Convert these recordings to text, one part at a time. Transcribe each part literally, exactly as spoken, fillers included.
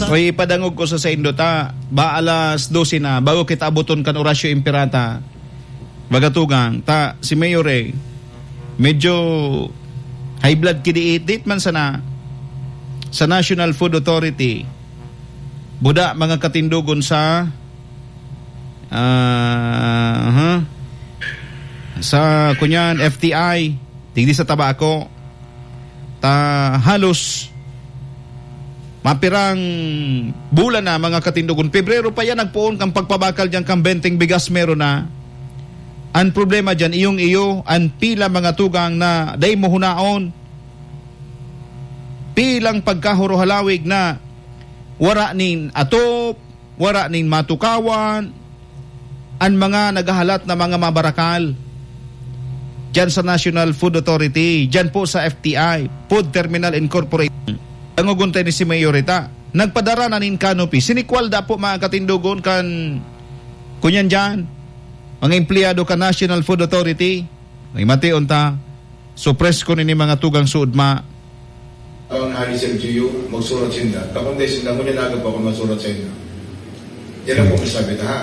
Oy, ipadangog ko sa saindo ta, ba alas dose na, bago kita abuton kan Orasyo Imperata. Baga tugang, ta, si Mayor eh, medyo high blood ki diit, diit man sana sa National Food Authority. Buda mga katindogon sa, ah, aha. Sa, kunyan, F T I, digdi sa Tabaco. Ta, halos mapirang bulan na, mga katindogon. Pebrero pa yan, nagpoon kang pagpabakal diyan kang benteng bigas, meron na. Ang problema diyan, iyong iyo, ang pila mga tugang na dai mo hunaon. Pilang pagkahuruhalawig na wara nin atop, wara nin matukawan, an mga naghahalat na mga mabarakal diyan sa National Food Authority, diyan po sa F T I, Food Terminal Incorporated. Dangogon ta ni si Mayorita. Nagpadara na nin canopy. Sinikwal da po, mga katindogon, kan, kunyan diyan, mga empleyado kan National Food Authority. May mation ta, supres ko nini mga tugang suod ma. Ang hari sa L G U, magsurat sinda. Kakundi sinda, ngunyan aga pa ako magsurat sa inyo. Yan ang po masabi ta, ha?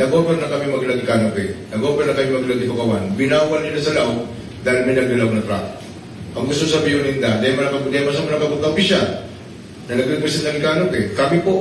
Nag-offer na kami maglagi canopy. Nag-offer na kami maglagi tukawan. Binawal nila sa laog dahil may nagdalaw na truck. Ang gusto sabihin ninda, dahil man nakabutang, dahil man sa mga kabutang opisyal na nag-represent ng canopy, kami po,